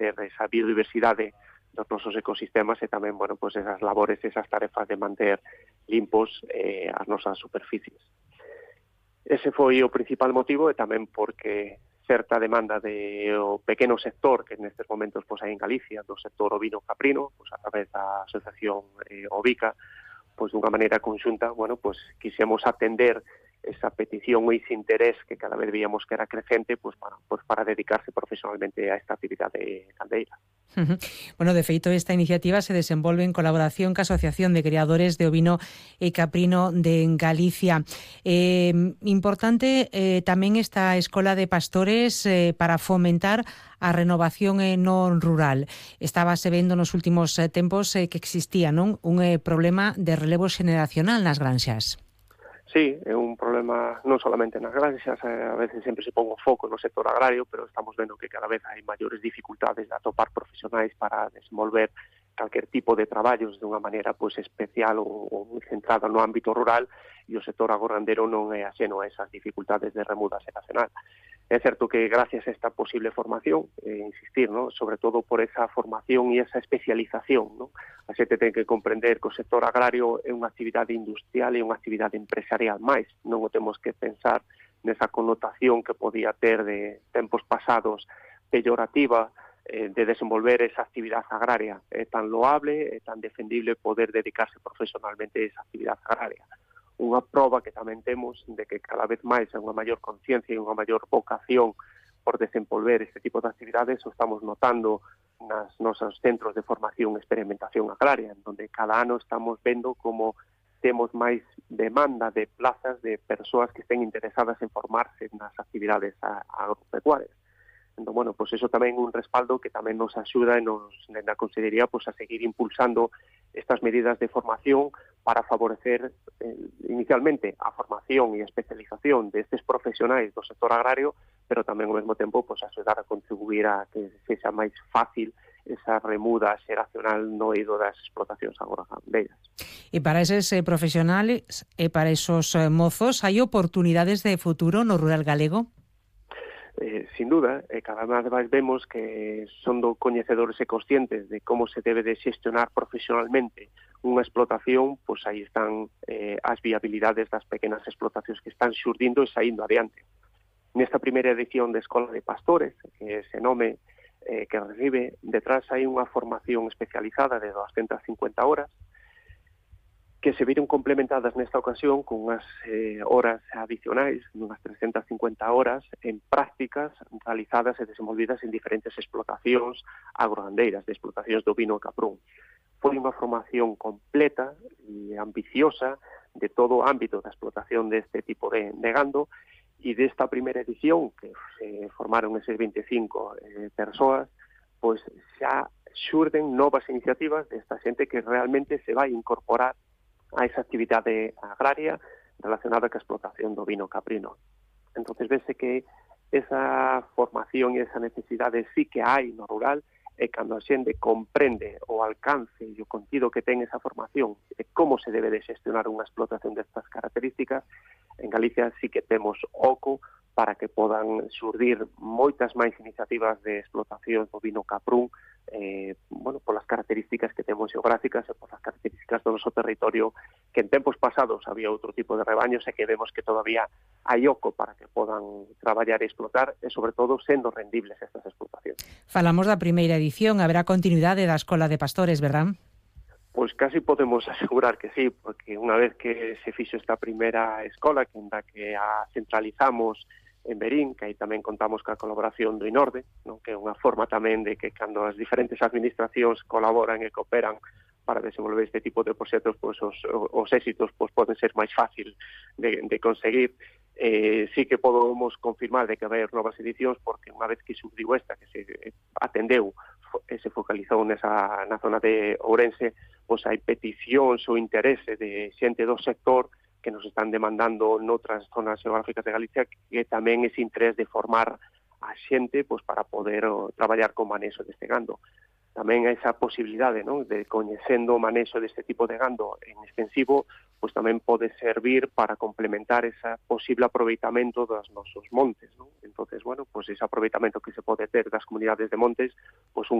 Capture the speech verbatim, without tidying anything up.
manter esa biodiversidade dos nosos ecosistemas e tamén, bueno, pois esas labores, esas tarefas de manter limpos eh, as nosas superficies. Ese foi o principal motivo e tamén porque certa demanda de o pequeno sector que nestes momentos pois hai en Galicia, do sector ovino caprino, pois a través da asociación eh, Ovica, pois dunha maneira conxunta, bueno, pois quixemos atender esa petición ou ese interés que cada vez veíamos que era crecente, pois para, pois para dedicarse profesionalmente a esta actividade gandeira. Uh-huh. Bueno, de feito, esta iniciativa se desenvolve en colaboración ca Asociación de Criadores de Ovino e Caprino de Galicia. Eh, importante eh, tamén esta Escola de Pastores eh, para fomentar a renovación eh, non rural. Estábase vendo nos últimos eh, tempos eh, que existía non un eh, problema de relevo xeneracional nas granxas. Sí, é un problema non solamente nas granxas, a veces sempre se pon o foco no sector agrario, pero estamos vendo que cada vez hai maiores dificultades de atopar profesionais para desenvolver calquer tipo de traballos de unha maneira pois especial ou, ou centrada no ámbito rural, e o sector agorrandero non é axeno a esas dificultades de remuda xeracional. É certo que gracias a esta posible formación, eh, insistir, ¿no?, sobre todo por esa formación e esa especialización, ¿no?, a xente ten que comprender que o sector agrario é unha actividade industrial e unha actividade empresarial máis, non o temos que pensar nesa connotación que podía ter de tempos pasados peyorativa eh, de desenvolver esa actividade agraria. É tan loable, é tan defendible poder dedicarse profesionalmente a esa actividade agraria. Unha proba que tamén temos de que cada vez máis hai unha maior conciencia e unha maior vocación por desenvolver este tipo de actividades, o estamos notando nas nosos centros de formación e experimentación agraria, onde cada ano estamos vendo como temos máis demanda de plazas de persoas que estén interesadas en formarse nas actividades agropecuarias. Entón, bueno, pois eso tamén é un respaldo que tamén nos axuda e nos, na Consellería pois, a seguir impulsando estas medidas de formación para favorecer eh, inicialmente a formación e a especialización destes profesionais do sector agrario, pero tamén ao mesmo tempo pois, axudar a contribuir a que sexa máis fácil esa remuda xeracional no eido das explotacións agrogandeiras. E para eses eh, profesionales e para esos eh, mozos, hai oportunidades de futuro no rural galego? Eh, sin duda, eh, cada vez máis vemos que son do coñecedores e conscientes de como se debe de xestionar profesionalmente unha explotación, pois aí están eh, as viabilidades das pequenas explotacións que están xurdindo e saindo adiante. Nesta primeira edición de Escola de Pastores, que ese nome eh, que recibe, detrás hai unha formación especializada de doscientas cincuenta horas, que se viron complementadas nesta ocasión con unhas eh, horas adicionais, unhas trescentas cincuenta horas en prácticas realizadas e desenvolvidas en diferentes explotacións agrogandeiras, de explotacións do ovino e caprún. Foi unha formación completa e ambiciosa de todo o ámbito da explotación deste tipo de, de gando, e desta primeira edición, que se formaron eses veinticinco eh, persoas, pois xa xurden novas iniciativas desta xente que realmente se vai incorporar a esa actividade agraria relacionada ca explotación do ovino caprino. Entonces, vese que esa formación e esa necesidade sí que hai no rural, e cando a xente comprende o alcance e o contido que ten esa formación e como se debe de xestionar unha explotación destas características, en Galicia sí que temos oco para que podan xurdir moitas máis iniciativas de explotación do ovino caprún, eh, bueno, polas características que temos geográficas e polas características do noso territorio, que en tempos pasados había outro tipo de rebaños e que vemos que todavía hai oco para que podan traballar e explotar e, sobre todo, sendo rendibles estas explotacións. Falamos da primeira edición, haberá continuidade da Escola de Pastores, verdad? Pois casi podemos asegurar que sí, porque unha vez que se fixo esta primeira escola, que en da que a centralizamos en Verín, que aí tamén contamos ca colaboración do INORDE, non? Que é unha forma tamén de que cando as diferentes administracións colaboran e cooperan para desenvolver este tipo de proxectos, pois os, os éxitos pois, poden ser máis fácil de, de conseguir. Eh, sí que podemos confirmar de que vai haber novas edicións, porque unha vez que surdiu esta, que se atendeu e se focalizou nesa, na zona de Ourense, pois hai peticións ou interese de xente do sector que nos están demandando noutras zonas geográficas de Galicia, que tamén ese interés de formar a xente pois, para poder o, traballar con manexo deste gando. tamén esa posibilidade, non, de coñecendo o manexo deste tipo de gando en extensivo, pois tamén pode servir para complementar ese posible aproveitamento dos nosos montes, non? Entonces, bueno, pois ese aproveitamento que se pode ter das comunidades de montes, pois un